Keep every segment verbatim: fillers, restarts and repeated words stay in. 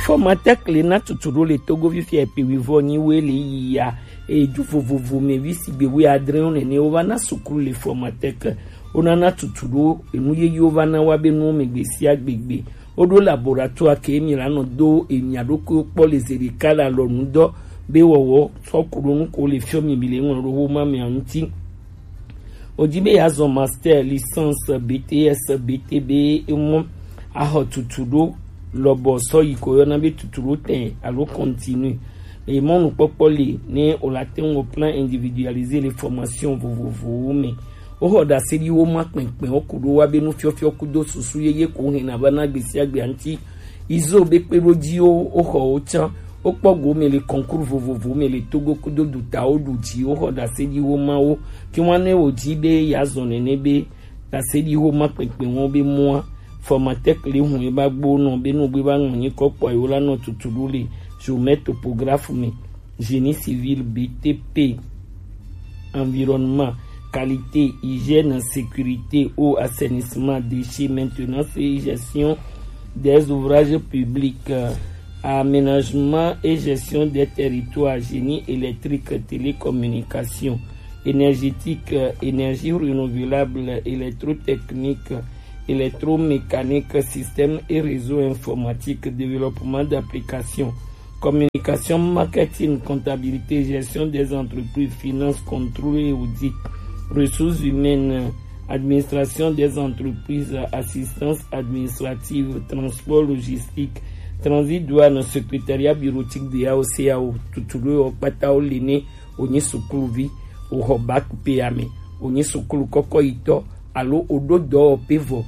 Formatec le na tutu ɖo le Togo fifi epe wivɔ nyi we le yi ya. Edu vovovo me vi sigbe we adre wo nene wo va na sukulu le Formatec. Wo na na tutu ɖo enu yeye wo va na wa be nuwo me gbe sia gbegbe. Wo ɖo laboratoire ke mi la nɔ do enya ɖokui kpɔ le zeɖeka le alɔnu dɔ be wɔwɔ sɔ ku ɖo nu ko le fiɔ mi mi le ŋlɔ ɖo wo ma mia ŋuti. Wodi be yeazɔ master, licence, B T S, B T B, emɔ axɔ tutu ɖo lɔbɔ sɔ yi ko yɔna be tutu ɖo tɛ alo continue. Le mɔnukpɔkpɔ li ne o la te ŋu plan individualisé le formation vovovowo me. Woxɔ ɖaseɖiwo ma kpɛnkpɛn wo ku ɖo wa be nufiɔfiɔ kudo susu yeye ko hɛn na va na gbesiagbe aŋti. Izo be kpe ɖo ji wo, woxɔ wo can. Wokpɔ go me le concours vovovo me le Togo kudo dutawo ɖu ji woxɔ ɖaseɖiwo ma wo. Ke ŋua ne wò dzi be yeazɔ nene be ɖaseɖiwo ma kpɛkpɛ wɔn be mɔa, Formatec le hun ye ba gbo nɔ be nugbe ba ŋlɔ nyi kɔ kpɔ yewo la nɔ tutu ɖo le géomètre topographe me, génie civil, B T P, environnement, qualité, hygiène, sécurité, eau, assainissement, déchets, maintenance et gestion des ouvrages publics, euh, aménagement et gestion des territoires, génie électrique, télécommunication, énergétique, euh, énergie renouvelable, électrotechnique, électromécanique, système et réseau informatique, développement d'applications, communication, marketing, comptabilité, gestion des entreprises, finance, contrôle et audit, ressources humaines, administration des entreprises, assistance administrative, transport, logistique, transit, douane, secrétariat bureautique de A O C A O, tutu ɖo wo kpata wo le ne wonyi sukuluvi, woxɔ bac pe ya me, wonyi sukulu kɔkɔyitɔ, alo woɖo dɔwɔƒe vɔ,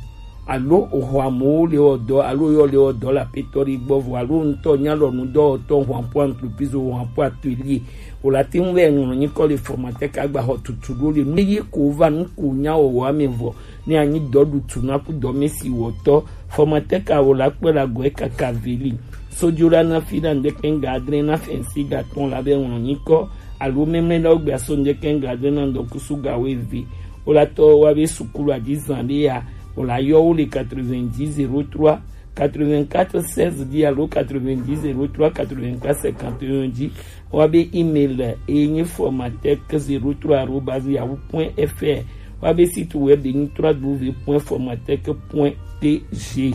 alo woxɔ amewo le wɔ dɔ, alo yɔ le wɔ dɔ le aƒetɔ ɖe gbɔ vɔ, alo ŋutɔ nya lɔ nudɔwɔtɔ, ho apo entreprise, ho apo atelier, wo la te ŋu vɛ ŋlɔ nyikɔ le Formatec agba xɔ tutu ɖo le nu ye ko va nu ko nya wɔwɔ ame vɔ, ne anyi dɔ ɖu tu na ku dɔ me si wɔtɔ. Formatec a wo la kpe la gɔe kaka veli. Sojo la na fi na ŋdeke ŋga adre na fɛnsi ga tɔn la be ŋlɔ nyikɔ, alo memle na wo gbe aso ŋdeke ŋga adre na ŋdɔkusu ga wo eve. Wo la tɔ wa be sukulu adi zan ɖe ya, wo la yɔ wo le quatre-vingt-dix zéro trois quatre-vingt-quatre seize dix alo quatre-vingt-dix zéro trois quatre-vingt-quatre cinquante et un dzi. Wa be email e nye formatec zéro trois arobase yahoo point F R. Wa be site web e nye trois W point formatec point T G.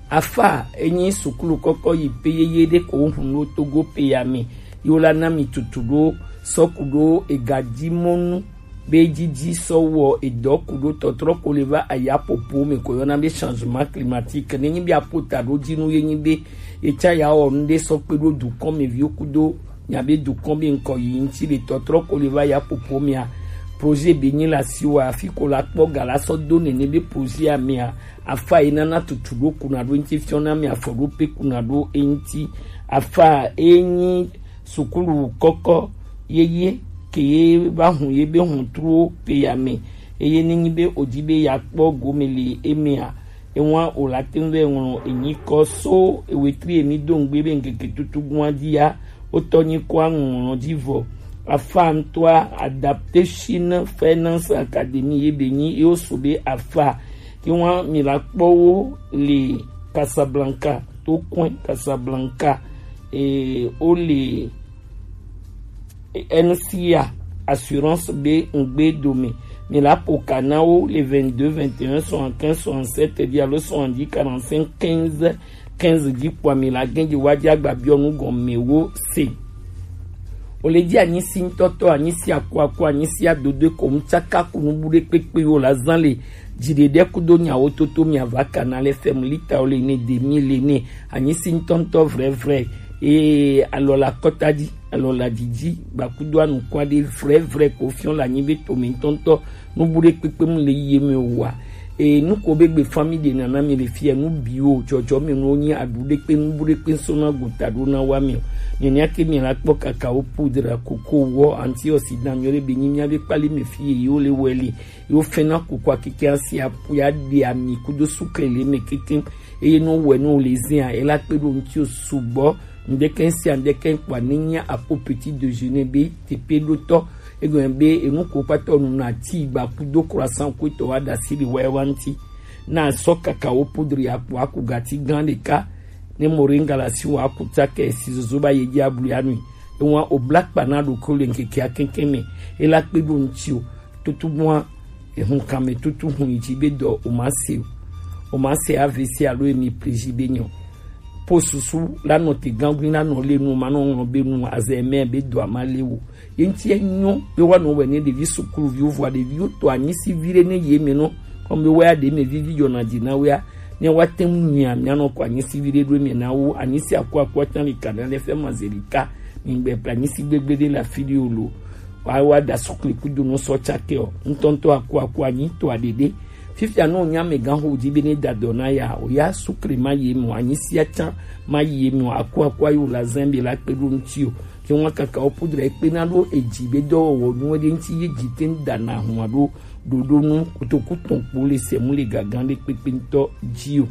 Afa e nye sukulu kɔkɔ yi pe yeye ɖe ko hun ɖo Togo pe ya me. Yo la na mi tutu ɖo sɔku ɖo ega ji mɔnu be didi sɔ wɔ edɔ ku ɖo tɔtrɔ ko le va aya popo me ko yɔna be changement climatique. Ne nyi be apo ta ɖo dzi nu ye nyi be etsa ya wɔ nu ɖe sɔ kpe ɖo dukɔn me viwo kudo nya be dukɔn be ŋkɔ yi ŋti le tɔtrɔ ko le va ya popo mea, projet be nyi la si wa afi ko la kpɔ ga la sɔ do nene be projet a mea, afa yi nana tutu ɖo kuna ɖo ŋti fiɔ na me afɔ ɖo pe kuna ɖo e ŋti. Afa e nyi sukulu kɔkɔ yeye ke ye va hun ye be hun tro pe ya me. Eye ne nyi be o di be ya kpɔ gome le emea, ewa o la te ŋu vɛ ŋlɔ enyi kɔ so ewetri emi do ŋgbe be ŋkeke tutu gua di ya, o tɔ nyi kɔ aŋlɔ di vɔ. Afa ŋtɔa Adaptation Finance Academy ye be nyi ye o so be afa. Ke wa mi la kpɔ wo le Casablanca, to kɔn Casablanca, e, o le N C A assurance be ŋgbe dome. Mi la po ka na wo le vingt-deux vingt et un soixante-quinze soixante-sept di alo soixante-dix quarante-cinq quinze quinze di kpɔ mi la gɛn di wa di agba biɔ nu gɔme wo se. O le di anyi si ŋtɔtɔ, anyi si akuaku, anyi si adodo ko ŋtsaka ku nu bu ɖe kpekpe yo la zan le. Dziɖeɖe kudo nyawo toto mi ava kana le fɛm lita o le ne demi le ne anyi si ŋtɔŋtɔ vrɛvrɛ. Ee, alɔ la kɔta di, alɔ la didi, gbakudo anukwa ɖe vrɛvrɛ ko fiɔ la nyi be to mi ŋtɔŋtɔ nu bu ɖe kpekpe mu le ye me wa. Ee, nu ko be gbe fami ɖe nana mi le fia nu bi o, jɔjɔ me nu nyi aɖu ɖe kpe nu bu ɖe kpe sɔ na gota ɖo na wa mi o. Nene ake mi la kpɔ kakao poudre, koko wɔ, antioxydant nyɔ ɖe be nyi mia be kpali me fi ye yo le wɛ le. Yo fɛna kukua keke asi apu ya ɖe ami kudo sukle le me keke. Eye no wɛ no le zia ela kpe ɖo ŋti o sugbɔ. Ŋdeke sia ŋdeke kpɔ ni nya apo petit déjeuner be tepe ɖo tɔ. Egɔme be enu ko kpatɔ nu na ti gba kudo croissant ko tɔ wa da si le wɛ wa ŋti. Na sɔ kakao poudre akpo aku gati gan ɖeka. Ne moringa la si wa kuta ke si zozo ba ye ji ablu ya nui. E wa o bla kpa na ɖokui le ŋkeke akɛnkɛn mɛ. E la kpe ɖo ŋti o. Tutu bua, ehun kan mɛ tutu hun yi ji be dɔ o ma se o. O ma se A V C alo emi pleji be nyɔ. Po susu la nɔ te gangui la nɔ le nu ma nɔ ŋlɔ be nu azɛ mɛ be dɔ a ma le o. Ye ŋti e nyɔ be wa nɔ wɛ ne ɖevi sukuluviwo vɔa ɖeviwo to anyisi vi ɖe ne ye mɛ nɔ. Kɔmi be wɛ ya ɖe mɛ vivi yɔ na di na wɛ ya. Ne wa te ŋu nyia mia nɔ kɔ anyisi vi ɖe ɖo mɛ na wo anyisi aku aku atan li kana le fɛ ma ze li ka. Mi gbɛ pra anyisi gbegbe ɖe la fi ɖe o lo. Wa wa da sukli kudo nɔ sɔ tsake o. Ŋtɔŋtɔ aku aku anyi to aɖeɖe. Fifia nɔ nya mɛ gan ho di be ne da dɔ na ya o ya sukli ma ye mɔ anyisi atsan ma ye mɔ aku aku ayo la zɛn be la kpe ɖo ŋti o. Ke ŋua kaka wo pudra ekpe na ɖo edzi be dɔwɔwɔ nu ɖe ŋti ye dzi te ŋu da na hua ɖo ɖoɖo nu kotoku tɔn kpo le sɛ mu le gagan ɖe kpekpe ŋutɔ dzi o.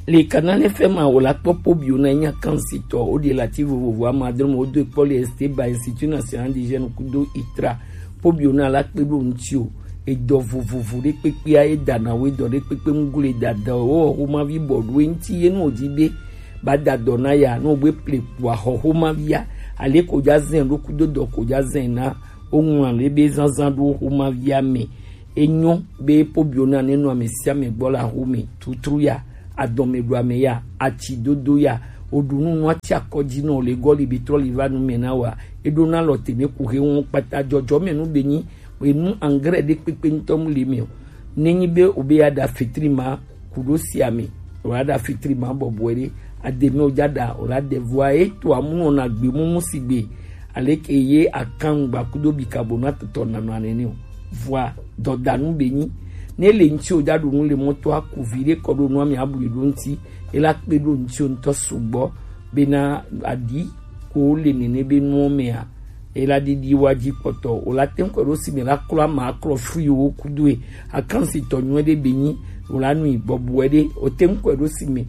Le Canal F M a wò la kpɔ pobio na nya kan si tɔ o de la ti vovovo ama adre mo do kpɔ le este ba Institut National des Jeunes kudo itra pobio na la kpe ɖo ŋti o. Edɔ vovovo ɖe kpekpe a ye da na wo edɔ ɖe kpekpe ŋu le da da o o ma vi bɔ ɖo ŋti ye no di be ba da dɔ na ya no gbe ple kua xɔ xoma via ale ko ja zɛn ɖo kudo dɔ ko ja zɛn na o ŋlɔ le be zanzan ɖo xoma via mɛ. Enyo be pobio na ne nɔ ame sia ame gbɔ la xome tutru ya adɔme ɖo ame ya atsi dodo ya o ɖu nu nu atsi akɔ dzi nɔ le gɔ li be trɔ li va nu mɛ na wa e ɖo na lɔ teme ku he ŋu kpata jɔjɔ mɛ nu be nyi enu angre ɖe kpekpe ŋutɔ mu le mɛ o. Ne nyi be o be ya ɖa fetri ma ku ɖo sia me o la ɖa fetri ma bɔbɔe ɖe ademe o ja ɖa o la ɖe vɔa e to amu nɔ na gbe mumu si gbe aleke ye akan gba kudo bi kabo na tɔtɔ na nɔ anene o. Vɔa dɔdanu be nyi ne le ŋti o ja ɖo nu le mɔto aku vi ɖe kɔ ɖo nu ame abu yi ɖo ŋti e la kpe ɖo ŋti o ŋutɔ sugbɔ bena aɖi ko le nene be nuwo mea e la ɖiɖi wa dzi kpɔtɔ o la te ŋu kɔ ɖo si me la klɔ ama aklɔ fui wo kudoe akan si tɔ nyuɛ ɖe be nyi o la nui bɔbɔe ɖe o te ŋu kɔ ɖo si me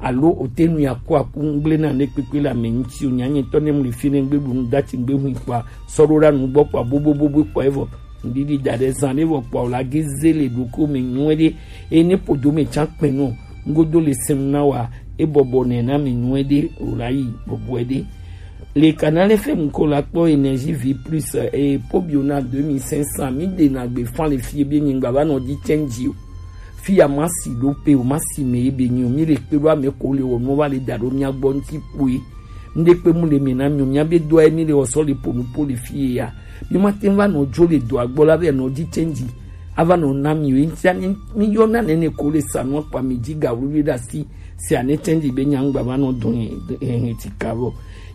alo o te nui aku aku ŋgble na ne kpekpe le ame ŋti o nya nyetɔ ne mu le fi ne ŋgbe ɖu nu dati ŋgbe hui kpɔa sɔ ɖo ɖa nu gbɔ kpɔa bobobobo kpɔa evɔ ŋɖiɖi da ɖe zan ɖe vɔ kpɔa o la ge ze le ɖoko me nyuɛ ɖe eye ne podo me tsa kpɛ nɔ ŋgodo le sɛm na wa e bɔbɔ nɛ na me nyuɛ ɖe o la yi bɔbɔe ɖe. Le Canal F M ko la kpɔ Énergie Vie Plus e pobio na deux mille cinq cents mi de na gbe fan le fie be nyingba va nɔ di change o. Fi ya ma si ɖo pe o ma si me ye be nyi o mi le kpe ɖo ame ko le wɔ nu va le da ɖo mia gbɔ ŋti kpoe. Ŋɖe kpe mu le me na mi o mia be do aye mi le wɔ sɔ le po nu po le fie ya. Mi ma te va nɔ jo le do agbɔ la be nɔ di change. Ava nɔ na mi o ŋti ani mi yɔ na nene ko le sa nu akpa mi di ga wuli ɖe asi. Si ane change be nyangba va nɔ dɔn he he ti ka vɔ.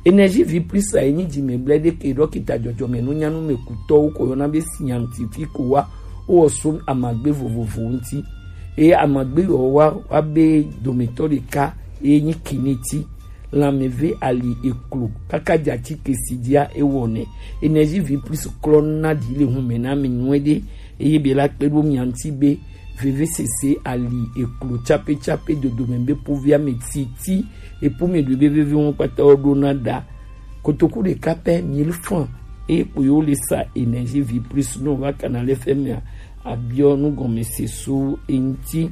Énergie Vie Plus a enyi dzi me ble ɖe ke ɖɔkita dzɔdzɔme nu nyanu me kutɔwo ko yɔna be scientifique wa. Wo so amagbe vovovo ŋti. Eye amagbe yɔ wa wa be dometɔ ɖeka eye nyi kiniti. Lãmeve ali eklo kaka dze atike si dzia ewɔnɛ. Énergie Vie Plus klɔ na ɖi le hume na mi nyuie ɖe eye be la kpe ɖo mia ŋti be vevesese ali eklo tsape tsape dodome be povia me titi epo me ɖo be veve ŋu kpata wo ɖo na ɖa. Kotoku ɖeka pɛ mille francs eye kpo yewo le sa Énergie Vie Plus no va Canal F M a abiɔ nugɔmese so eŋti.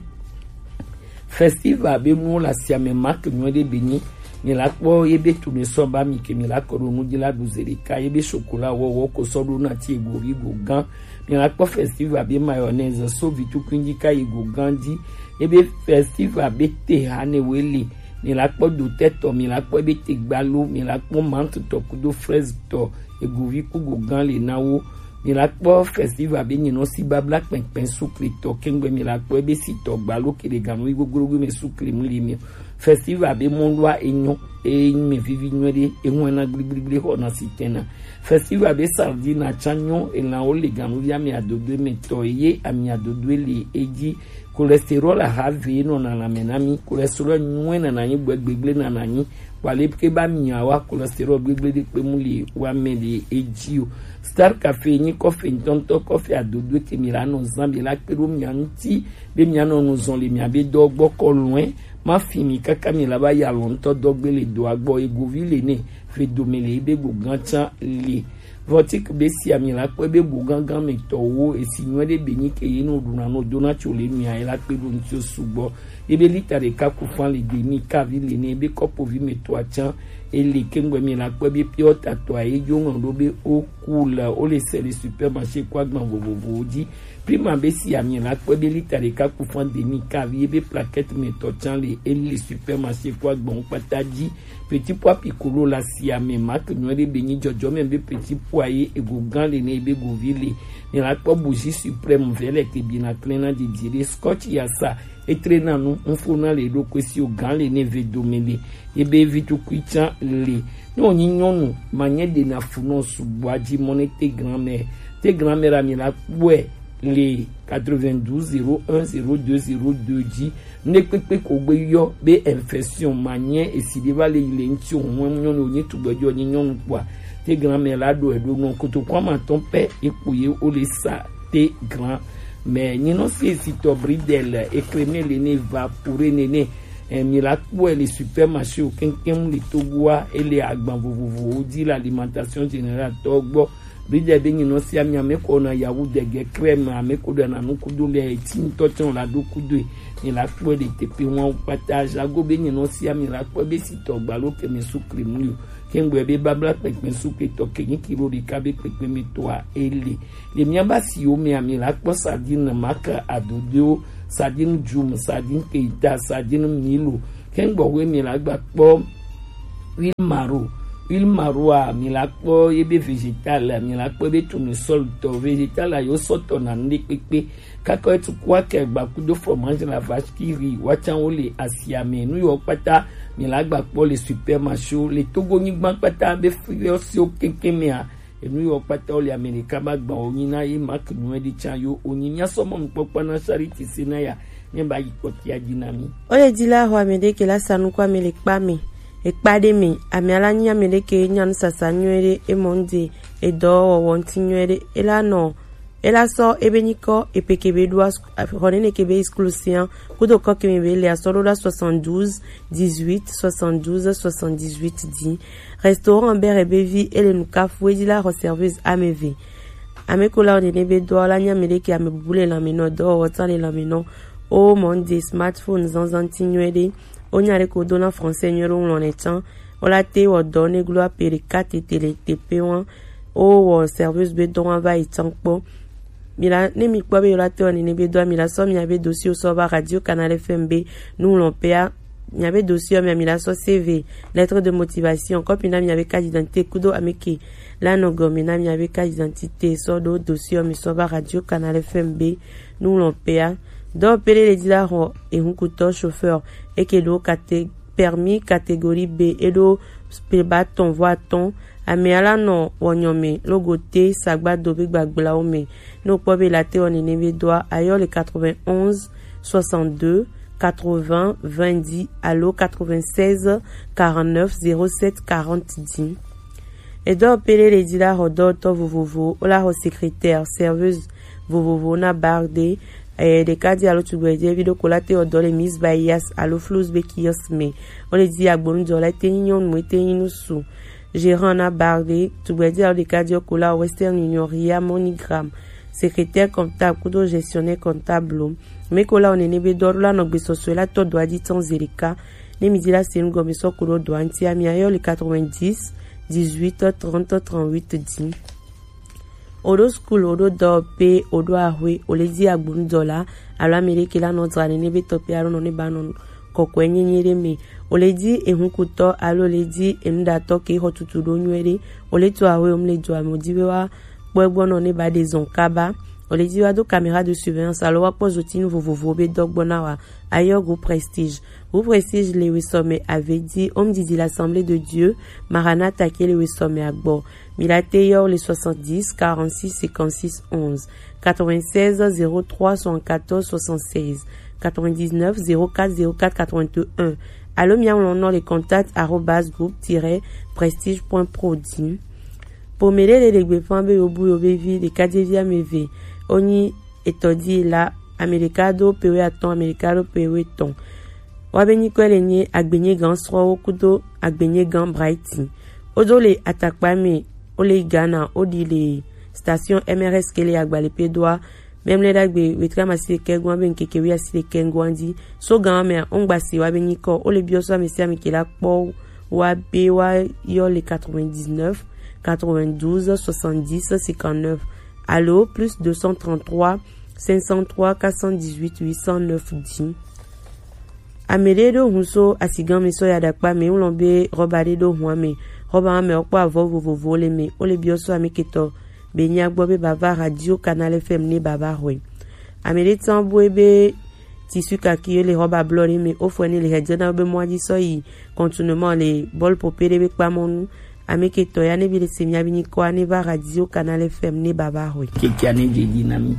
Festival be nuwo le asiame mark nyuie ɖe be nyi mi la kpɔ ye be tome sɔ ba mi ke mi la kɔ ɖo nu dzi la ɖu ze ɖeka ye be chocolat wɔwɔ ko sɔ ɖo na ti ego vi go gã. Mi la kpɔ festival be mayonnaise so vi tukui dzi ka yi go gã dzi. Ye be festival be te ha ne we le mi la kpɔ dotɛ tɔ mi la kpɔ ye be te gbalo mi la kpɔ mante tɔ kudo fraise tɔ ego vi ku go gã le na wo. Mi la kpɔ festival be nyinɔ si babla kpɛnkpɛn sukle tɔ kɛŋgbɛ mi la kpɔ ebe si tɔ gbalo kele ganu yi goglogo me sukle mu li mi. Festival be mɔlua enyɔ enyi me vivi nyuie ɖe ehuɛna gbligbligbli xɔ na si tɛna. Festival be sardine atsa nyɔ elan wo le ganu ya mi adodo me tɔ ye ami adodo le edzi. Cholestérol aha ve nɔ na lame na mi cholestérol nyuie na na nyi gbɛ gbegble na na nyi. Wa le ke ba mia wa cholestérol gbegble ɖe kpe mu li wa me le edzi o. Star Café nyi kɔfe ŋtɔŋtɔ kɔfe adodo ke mi la nɔ zan be la kpe ɖo mia ŋti be mia nɔ nu zɔn le mia be dɔ gbɔ kɔ lɔe ma fi mi kaka mi la ba ya lɔ ŋtɔ dɔ gbe le dɔa gbɔ egovi le ne fe dome le ebe go gã tsa le. Vɔtik be si ami la kpɔ ebe go gã gã me tɔ wo esi nyuie ɖe be nyi ke ye no ɖuna no dona tso le mia ye la kpe ɖo ŋti o sugbɔ. Ebe lita ɖeka ku fan le demi kavi le ne ebe kɔpovi me to atsan ele kengbe mi la kpɔ be piɔ tatɔ a ejo ŋlɔ ɖo be o ku le o le se le supermarché kɔ agban vovovowo ji. Prima be si ami la kpɔ be lita ɖeka ku fan demi kavi ebe plaquette me tɔ tsan le ele supermarché kɔ agban kpata ji. Petit pois piccolo la si ame mak nyuɛ ɖe be nyi jɔjɔme be petit pois ye ego gan le ne ebe govi le. Mi la kpɔ bougie suprême vɛ le te bi na klena didi ɖe scotch ya sa etre na nu ŋfo na le ɖo kwe si o gan le ne ve dome le ebe vi tukui tsan le. Ne o nyi nyɔnu ma nye ɖe na fu nɔ subua ji mɔ ne te grand-mère te grand-mère ami la kpɔe le quatre-vingt-douze zéro un zéro deux zéro deux ji. Nɖe kpekpe ko gbe yɔ be infection ma nye esi ɖe va le yi le ŋuti o ŋu nyɔnu o nye tugbedzɔ nye nyɔnu kpɔa te grand-mère la ɖo eɖo nɔ kotoku ama tɔn pɛ ekpo ye o le sa te grand-mère nyinɔ si esi tɔ bridel ekreme le ne va pure nene. Eh, mi la kpɔe le supermarché o keŋkeŋ le Togoa ele agban vovovowo ji le alimentation générale tɔ gbɔ. Bridel be nyinɔ si ami ame ko na yawu dege crème ame ko ɖe na nu kudo le eti ŋutɔ tsɔ la ɖo kudo e. Mi la kpɔe le teƒe ŋua kpata jago be nyinɔ si ami la kpɔe be si tɔ gbalo ke mi su kremu yo. Kengbe be babla kpekpe su ke tɔ ke nyi kilo ɖeka be kpekpe mi tɔa ele. Le mia ba si wo mi ami la kpɔ sardine maka adodo sardine jum sardine keita sardine milo. Kengbe we mi la gba kpɔ huile maro. Huile maro a mi la kpɔ ye be végétal a mi la kpɔ be tournesol tɔ végétal a yo sɔtɔ na nu ɖe kpekpe. Kakɔ etu kua ke gba kudo fromage la vache qui rit wa tsan wo le asia me nu yo kpata mi la gba kpɔ le supermarché o le Togo nyigba kpata be fiɔ si o keŋkeŋ mea. Enu yo kpata wo le Amerika ba gba wo nyi na ye mak nyuɛ ɖi tsan yo o nyi mia sɔ mɔ nukpɔkpɔ na Charity Senaya ne ba yi kpɔtia dzi na mi. O le di la ho ame ɖe ke la sa nuku ame le kpa me ekpa ɖe me ame ala nyi ame ɖe ke nya nusasa nyuie ɖe emɔ ŋde edɔ wɔwɔ ŋti nyuie ɖe ela nɔ ela sɔ ebe nyikɔ epe kebe ɖo xɔ nene kebe exclusion kudo kɔ keme be le asɔ ɖo la soixante-douze dix-huit soixante-douze soixante-dix-huit di. Restaurant bere be vi ele nukafu edi la xɔ service ame ve. Ame ko la o nene be dɔ la nya ame ɖe ke ame bubu le lame nɔ dɔ wɔ ta le lame nɔ. O mɔ ŋde smartphone zanzan ti nyuie ɖe. O nya ɖe ko do na français nyuie ɖe o ŋlɔ ne tsan. O la te wɔ dɔ ne glo ape ɖeka tete le teƒe wa. O wɔ service be dɔ wa va yi tsan kpɔ. Mi la ne mi kpɔ be yo la te wɔ nene be dɔ mi la sɔ mi abe dossier sɔ va radio Canal F M be nu ŋlɔ pea mi abe dossier mi mi la sɔ C V lettre de motivation kɔpi na mi abe carte d'identité kudo ame ke la nɔ gɔme na mi abe carte d'identité sɔ ɖo dossier mi sɔ va radio Canal F M be nu ŋlɔ pea. Dɔ pele le di la xɔ ehunkutɔ chauffeur eke ɖo kate permis catégorie B eɖo peba tɔn vɔ atɔn. Ame ala nɔ wɔnyɔ me logo te sagbado be gbagblao me. Ne o kpɔ be la te wɔ nene be dɔa ayɔ le quatre-vingt-onze soixante-deux quatre-vingts vingt dix alo quatre-vingt-seize quarante-neuf zéro sept quarante di. Edɔ pele le di la xɔ dɔtɔ vovovo o la xɔ secrétaire serveuse vovovo na barde. Eye ɖeka di alo tugbedzɛvi ɖo ko la te wɔ dɔ le Miss Bayas alo Flus be kiosk me. O le di agbonudɔ la te nyi nyɔnu ete nyi nusu. Gérant na barde tugbedzɛ alo ɖeka di ko la Western Union ria MoneyGram. Secrétaire comptable kudo gestionnaire comptable. Me ko la o nene be dɔ la nɔ gbesɔsɔ la tɔ dɔ adi tɔn ze ɖeka. Ne mi di la se nu gɔme sɔ ko ɖo dɔ anti ami ayɔ le quatre-vingt-dix dix-huit trente trente-huit di. O ɖo school o ɖo dɔ pe o ɖo ahwe o le di agbonudɔ la alo ame ɖe ke la nɔ dra nene be tɔ pe alo nɔ ne ba nɔ kɔkɔe nyenye ɖe me. O le di ehunkutɔ alo o le di enuɖatɔ ke xɔ tutu ɖo nyuie ɖe. O le to ahwe o mu le dɔ ame o di be wa kpɔ egbɔ nɔ ne ba ɖe zɔn kaba. O le di wa do caméra de surveillance alo wa kpɔ zotinu vovovo be dɔ gbɔ na wa. Ayɔ go prestige. Go prestige le wesɔme ave di home didi l'Assemblée de Dieu Maranatha ke le wesɔme agbɔ. Mi la te yɔ le soixante-dix quarante-six cinquante-six onze, quatre-vingt-seize zéro trois soixante-quatorze soixante-seize, quatre-vingt-dix-neuf zéro quatre zéro quatre quatre-vingt-un. Alo mia ŋlɔ nɔ le contact arobase groupe tiret prestige point pro di. Pome ɖe le ɖegbe ƒã be yobu yo be vi ɖeka dzevi ame eve wonyi etɔ̃ di la, ame ɖeka do pewe atɔ̃, ame ɖeka do pewe etɔ̃. Woabe nyikɔe le nye Agbenyegan srɔ̃wo kudo Agbenyegan Brighton. Wodo le atakpa me, wole Ghana, woɖi le station M R S ke le Agbalepedoa Be mlɛ ɖagbe wetri amasi ɖekɛ goa be ŋkeke wi asi ɖekɛ ŋgoa dzi. So gan mea, ŋgba si wa be nyikɔ. Wo le biɔ so ame sia ame ke la kpɔ wa be wa yɔ le quatre-vingt-dix-neuf, quatre-vingt-douze, soixante-dix, cinquante-neuf. Alo plus deux cent trente-trois, cinq cent trois, quatre cent dix-huit, huit cent neuf dix. Ame ɖe ɖo hun so asigan mi sɔ ya ɖakpa mi ŋlɔ be rɔba ɖe ɖo hun ame. Rɔba ame wokpɔ avɔ vovovowo le me. Wo le biɔ so ame ketɔ be nya gbɔ be bava Radio Canal F M ne bava hɔe. Ame ɖe tsan boe be tissu kaki le rɔba blɔ ɖe me. Wofɔe ne le hedzena be mɔa dzi sɔ yi contournement le bɔl pope ɖe be kpamɔnu. Ame ketɔ ya ne bi le se mia bi nyikɔa ne va Radio Canal F M ne bava hɔe. Kekia ne dze dzi na mi.